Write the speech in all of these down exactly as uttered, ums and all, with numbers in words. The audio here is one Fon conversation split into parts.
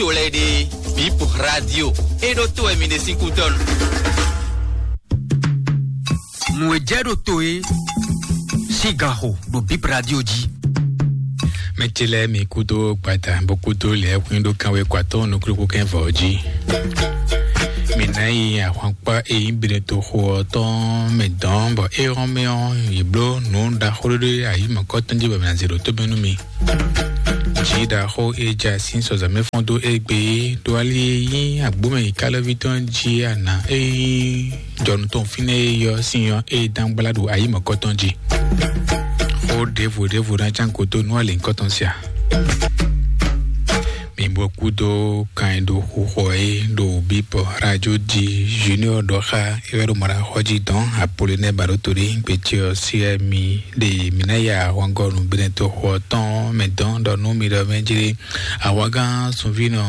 to lɛ́ɛ ɖe, Bip Radio, é ɖó to wɛ mi ɖe sín kútɔ́nu. Nǔ e jɛ ɖo to e sín gan xo ɖo Bip Radio jí. Mɛ ce lɛ́ɛ mi kúdó gbada bó kúdó lɛ̌ xwín ɖó kanwé kɔ atɔ́ nukúnukún kɛn vɔ jí. Mi ná yi ahwankpá e nyí Benetoxo ɔ́ tɔn mɛ dɔn bɔ é hɔn mɛ ɔ́, yě bló nǔ ɖaxó ɖé ɖé ayǐ mɔ̌kɔtɔn jí bɔ mǐ ná zě ɖó tó mɛ nú mi. Jǐ ɖaxó e ja sín sɔzɔ̌ mɛ fɔ́n dó égbé é ɖó ali e nyí agbǒmɛ yi kálɔ́ví tɔn jí ana e nyí jɔnu tɔn fínɛ́ e yɔ sín ɔ́ e dán gbla ɖo ayǐ mɔ̌kɔtɔn jí. Xó ɖěvo ɖěvo ná cán kó dó nú alǐnkɔtɔn sia. Mi bó kúdó kan e ɖo xixɔ é ɖo Bíbɔ Radio di Junior ɖɔ xá é wɛ ɖo mɔ ɖo axɔ jí dɔn Apolinɛ Baɖótolí gbecɛ ɔ́ sí wɛ mi ɖe mi ná ya ahwangɔnu Benɛto xɔ tɔn mɛ dɔn ɖɔ nú mi ɖɔ mɛ jlé ahwangán sunvínɔ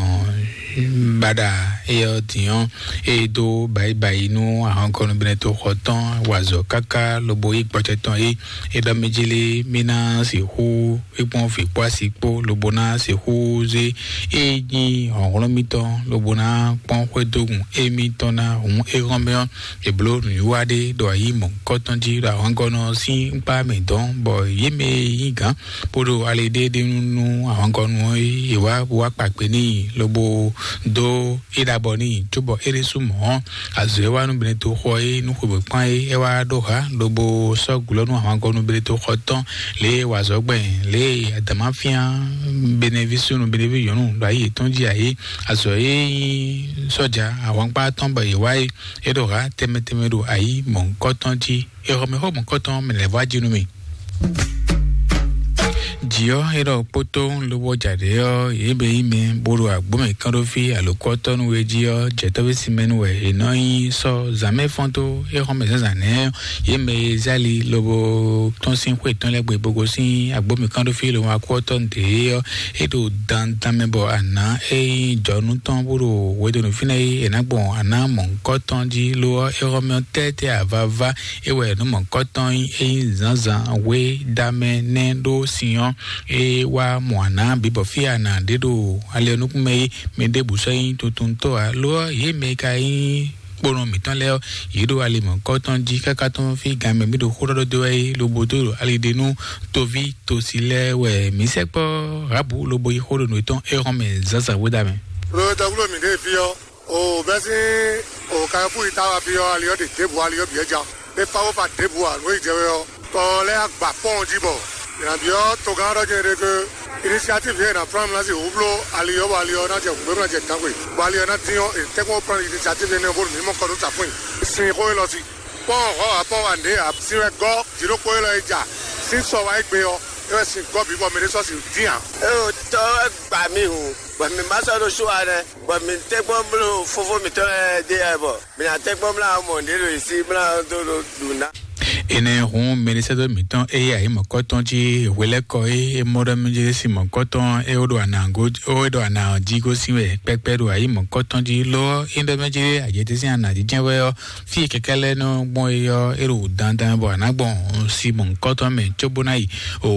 baɖa éyɔ dǐn ɔ́, é dó bayibayi nú ahɔnkɔnu Benɛto xɔ tɔn wazɔ káká lobo yí gbɔjɛ tɔn é é ɖɔ mɛ jlé mí ná sixú é kpɔ́n vǐ kpó asi kpó lobo ná sixú zé é nyí hlɔ̌nhlɔ́n mítɔn lobo ná kpɔ́n xwédógún émítɔn ná hǔn é hɔn mɛ ɔ́, è bló nǔwiwa ɖé ɖo ayǐ mɔ̌hunkɔtɔn jí ɖo ahɔngɔ́nɔ sín kpá mɛ dɔn bɔ yě mɛ e nyí gǎn bó ɖo ali ɖé ɖe nú ahɔngɔ́nu ɔ́ é wá wá kpakpe n'i lobo dó é ɖabɔ n'i cóbɔ é ɖésú mɔ̌ ɔ́, azɔ̌ e wá nú Benɛto xɔ é nú xweběkpán é é wá ɖó hǎ lobo sɔ́ glɔ́ nú ahɔngɔ́nu Benɛto xɔ tɔn lě e wazɔ̌gbɛn lě e adǎmáfíán Benɛví súnnu Benɛví nyɔ̌nu ɖo ayǐ yětɔn jí ǎ é. Azɔ̌ e nyí sɔ́ja ahwankpá tɔn bɔ yě wá é é ɖo hǎ tɛnmɛ tɛnmɛ ɖo ayǐ mɔ̌hunkɔtɔn jí. È xɔ mɛ xó mɔ̌hunkɔtɔn mɛ lɛ́ vɔ jí nú mì. Jǐ ɔ́ é ɖɔ kpótó lobɔ jǎɖé ɔ́ yě bɛ yí mɛ bó ɖo agbǒmɛ kán ɖó fí alǒkɔ́tɔ́ nú we jí ɔ́ jɛtɔ́ví sinmɛ nú wɛ è nɔ nyí sɔ́ zǎnmɛ fɔ́n tó é xɔ mɛ zǎnzǎn nɛ́ ɔ́, yě mɛ e zé ali lobo tɔ́n sín xwé tɔn lɛ́ɛ gbe bó gosín agbǒmɛ kán ɖó fí lobo akú ɔ́ tɔ́ nǔɖé ɔ́, é ɖo dandan mɛ bɔ àná é nyí jɔnú tɔn bó ɖo hwedonu fínɛ́ é è nǎ gbɔn àná mɔ̌hunkɔtɔn jí lo ɔ́, é xɔ mɛ ɔ́ tɛ́tɛ́ avava é wɛ nǔ mɔ̌hunkɔtɔn nyí é nyí zǎnzǎn hwe damɛ nɛ́ ɖó sin ɔ́, é wá mɔ àná bǐ bɔ fí àná ɖé ɖo ali ɔ́ nukún mɛ é mɛ ɖěbǔ sɔ́ nyí tuntuntɔ́ ǎ lo ɔ́, yě mɛ e ka nyí kponɔ mǐtɔn lɛ́ɛ ɔ́, yě ɖo ali mɔ̌hunkɔtɔn jí káká tɔn fí gan mɛ mí ɖo xó ɖɔ dó wɛ é lobo dó ɖo ali ɖé nú toví tosi lɛ́ɛ wɛ mǐ sɛkpɔ́ Rabu lobo yi xó ɖo nǔ tɔn é hɔn mɛ zǎnzǎn hwe damɛ. Ɖo dɔgbló mǐ ɖe fí ɔ́, o bɛ́ sín o kayɔ́fú yi ta wá fí ɔ́, ali ɔ́ ɖe ɖěbǔ, ali ɔ́ bǐ wɛ ja. É fá wó fa ɖěbǔ ǎ, nǔ e jɛ wɛ ɔ́, tɔ lɛ́ɛ agba kpɔ́n jí bɔ mǐ ná byɔ́ togán ɔ́ ɖɔ nyɛ ɖe ke inisiatív e è nǎ flán mlá sín hǔn bló ali ɔ́, bɔ ali ɔ́ ná jɛ hǔngbé, bó ná jɛ gǎngbe, bɔ ali ɔ́ ná dín ɔ́, è tɛ́nkpɔ́n flán inisiatív énɛ́ ɔ́ bónú mǐ mɔ kɔ nú safún nyi. Sin xó élɔ́ sí. Kpɔ́n hɔ̌ ǎ kpɔ́n wa nǔɖé ǎ, sin wɛ gɔ́ jǐɖokpó élɔ́ e ja sín sɔ wá é gbe ɔ́, é wɛ sin gɔ́ bǐ bɔ mɛ ɖé sɔ́ sin dín ǎ. É o tɔ wɛ gba mì hǔn, bɔ mǐ ma sɔ́ ɖo sú wa nɛ́, bɔ mǐ tɛ́nkpɔ́n bló fofó mǐtɔn lɛ́ɛ ɖe wɛ bɔ mǐ ná tɛ́nkpɔ́n mlá mɔ ɖě ɖo yě sí mlá dó ɖo ɖu ná. Énɛ́ hǔn mɛɖisɛ́dó mǐtɔn e yí ayǐ mɔ̌kɔ́tɔn jí hwelɛ́kɔ é é mɔ ɖɔ mɛ jɛ sín mɔ̌kɔ́tɔn é wó ɖo anǎgó é wó ɖo anǎ jí gosín wɛ kpɛkpɛ ɖo ayǐ mɔ̌kɔ́tɔn jí ló ɔ́, é ɖɔ mɛ jɛ ajɛtɛ́ sín anǎ jí jɛ́n wɛ ɔ́, fí e kɛkɛ́ lɛ́ɛ nɔ gbɔn é ɔ́, é ɖo dandan bɔ a nǎ gbɔn Simɔn kɔ́tɔn mɛ cóbó ná yi o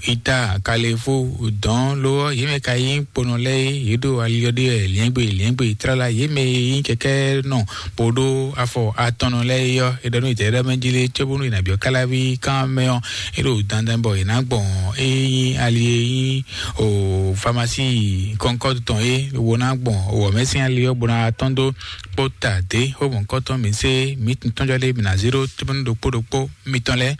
ita kalefó dɔn ló ɔ́, yě mɛ ka nyí kponɔ lɛ́ɛ é, yě ɖo ali ɔ́ ɖe wɛ liɛ́ngbe liɛ́ngbe tlala, yě mɛ e nyí kɛkɛ́ nɔ bó ɖó afɔ atɔnnɔ lɛ́ɛ é ɔ́, é ɖɔ nú yě ɖɔ mɛ jí lé cóbónú è nǎ byɔ́ káláví kán mɛ ɔ́, é ɖo dandan bɔ è nǎ gbɔn é nyí ali e nyí o famasí kɔnkɔ́du tɔn é wo ná gbɔn wɔ̌mɛsín ali ɔ́ bó ná tɔ́n dó kpó ta dě xó mɔ̌kɔ́tɔn mǐ sé mǐ tɔnjɔ lé mǐ ná zé ɖó tóbɛ́nú ɖokpó ɖokpó mitɔn lɛ́ɛ.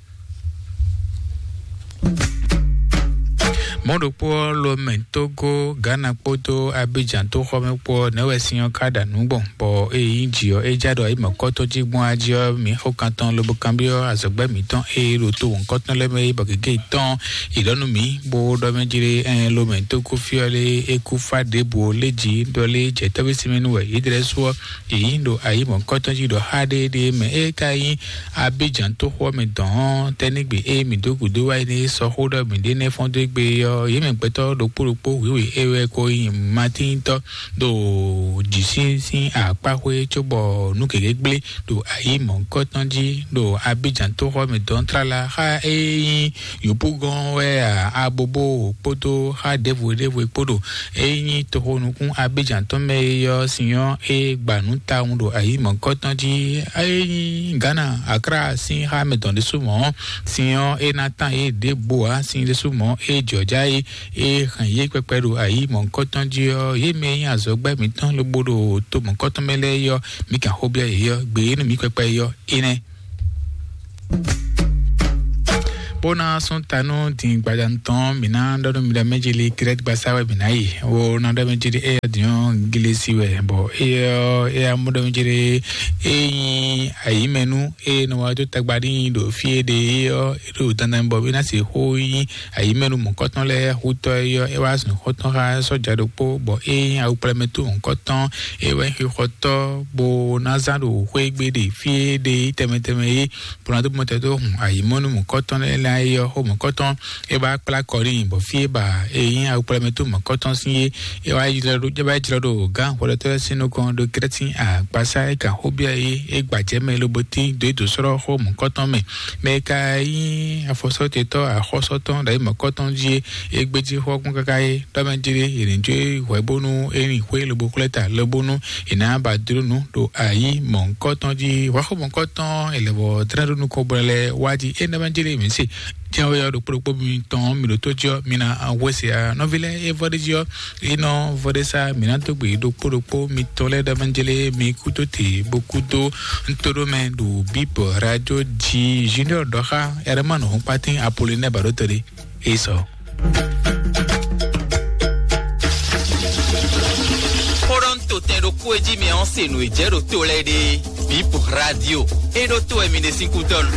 Mɔ̌ ɖokpó ɔ́, Lomɛ, Togo, Ghana kpódó Abidjan tóxɔmɛ kpó ɔ́, nɛ̌ wɛ sin ɔ́ ká ɖa nǔ gbɔn, bɔ ée nyí jǐ ɔ́, é já ɖɔ ayǐ mɔ̌kɔ́tɔn jí gbɔn ají ɔ́, mǐ xo kan tɔn lobo kanbyɔ́ azɔ̌gbɛ́ mǐtɔn e ɖo to wɔ̌nkɔ́tɔn lɛ́ɛ mɛ é, bɔ gěgé tɔn yě ɖɔ nú mǐ, bó ɖɔ mɛ jí ɖé, ɛn Lomɛ Togo fí ɔ́ lé é kú fá ɖěbǔ ó lé jí ɖɔ lé jɛ tɔ́ví sinmɛ nú wɛ yě ɖlɛ́ sú ɔ́, yě nyí ɖo ayǐ mɔ̌kɔ́tɔn jí ɖɔ xá ɖéeɖée mɛ é ka nyí Abidjan tóxo ɔ́ mɛ dɔn ɔ́, tɛ́ ní gbe ée mǐ dó gǔdo wá yi ní sɔ́ xó ɖɔ mǐ ɖe nɛ́ fɔ́n dó égbé ɔ́, Yě mɛ gbɛtɔ́ ɖokpó ɖokpó wěwe é wɛ ko nyí Matíntɔ́ ɖo jǐ sín sín akpáxwé cóbɔ nú gěgé gblé ɖo ayǐ mɔ̌hunkɔtɔn jí ɖo Abidjan tóxɔ mɛ dɔn tlala xá é nyí yǒbúgɔ́n wɛ a, abobo kpódó xá ɖěvo ɖěvo kpó ɖo é nyí toxonukún Abidjan tɔn mɛ é yɔ sin ɔ́ é gba nǔ tawun ɖo ayǐ mɔ̌hunkɔtɔn jí. É nyí Ghana Akra sín xá mɛ dɔn ɖésú mɔ̌ sin ɔ́ é ná tán é ɖěbǔ ǎ sin ɖésú mɔ̌ é jɔ̌já é é hɛn yě kpɛkpɛ ɖo ayǐ mɔ̌hunkɔtɔn jí ɔ́, yě mɛ e nyí azɔ̌gbɛ́ mǐtɔn lobo ɖo to mɔ̌hunkɔtɔn mɛ lɛ́ɛ é ɔ́, mǐ kan xó byɔ́ yě ɔ́, gbe e nú mǐ kpɛkpɛ é ɔ́, énɛ́. Bó ná sún ta nú din gbadanu tɔn, mǐ ná ɖɔ nú mi ɖɔ mɛ jí lí Krɛ́t gbasá wɛ mǐ ná yi. Wo ná ɖɔ mɛ jí lí éyɛ́ din ɔ́, Glesi wɛ, bɔ éyɛ́ ɔ́, éyɛ́ mɔ ɖɔ mɛ jí lí é nyí ayǐmɛnú e nɔ wá dó tagba n'i ɖo fí e ɖe é ɔ́, é ɖo dandan bɔ mí ná se xó nyí ayǐmɛnú mɔ̌kɔtɔn lɛ́ɛ hútɔ́ é ɔ́, é wá zun xɔ́ntɔn xá sɔ́ja ɖokpó, bɔ é nyí awukplɛ́mɛtɔ́ mɔ̌kɔtɔn, é wɛ nyí xixɔtɔ́, bó ná zán ɖo xwé gbe ɖe fí e ɖe tɛmɛ tɛmɛ é, bó ná dó mɔtɛ dó hun ayǐmɔnú mɔ̌kɔtɔn lɛ́ɛ lɛ́ɛ é ɔ́, xó mɔ̌kɔtɔn é wá kplá kɔ n'i, bɔ fí e ba é nyí awukplɛ́mɛtɔ́ mɔ̌kɔtɔn sín é, é wá jlɔ́ ɖó é wá jlɔ́ ɖo gǎn xwlɛtɔ́ lɛ́ɛ sín nukɔn ɖo Krɛ́tin agbasá é kan xó byɔ́ é, é gbajɛ mɛ lobo tín dó é dǒ slɔ́ xó mɔ̌kɔtɔn mɛ. Mɛ e ka nyí afɔsɔ́tetɔ́ axɔ́sɔ́tɔn ɖo ayǐ mɔ̌kɔtɔn jí é, é gbéjí xɔ́gbɔn káká é ɖɔ mɛ jlé è nǐ jó é hwɛ̌ bónú é nyi xwé lobo xwlɛ́ ta lobónú è nǎ ba dló nǔ ɖo ayǐ mɔ̌hunkɔtɔn jí. Hwɛ̌xó mɔ̌hunkɔtɔn è lɛ̌ bɔ dlɛ́n ɖó nukɔn bɔ lɛ́ wá jí é nɛ́ mɛ jlé mǐ se. Jɛ́n wɛ ɔ́ ɖokpó ɖokpó mitɔn mi ɖo tó jí ɔ́, mi ná hwesé a nɔví lɛ́ɛ é vɔ́ ɖé jí ɔ́, é nɔ vɔ́ ɖé sá mǐ ná dó gbe ɖokpó ɖokpó mitɔn lɛ́ɛ ɖɔ mɛ jlé mi kúdó te bó kúdó ntó ɖó mɛ ɖo bíbɔ radio jí Junior ɖɔ xá Herman Hɔnkpatín Apollinaire Baɖótɔ́ ɖé. Esau. Xó ɖɔ un to tɛn ɖokpó e jí mi ɔ́ se nǔ e jɛ ɖo to lɛ́ɛ ɖe. Bip radio. É ɖó to wɛ mi ɖe sín kútɔ́nu.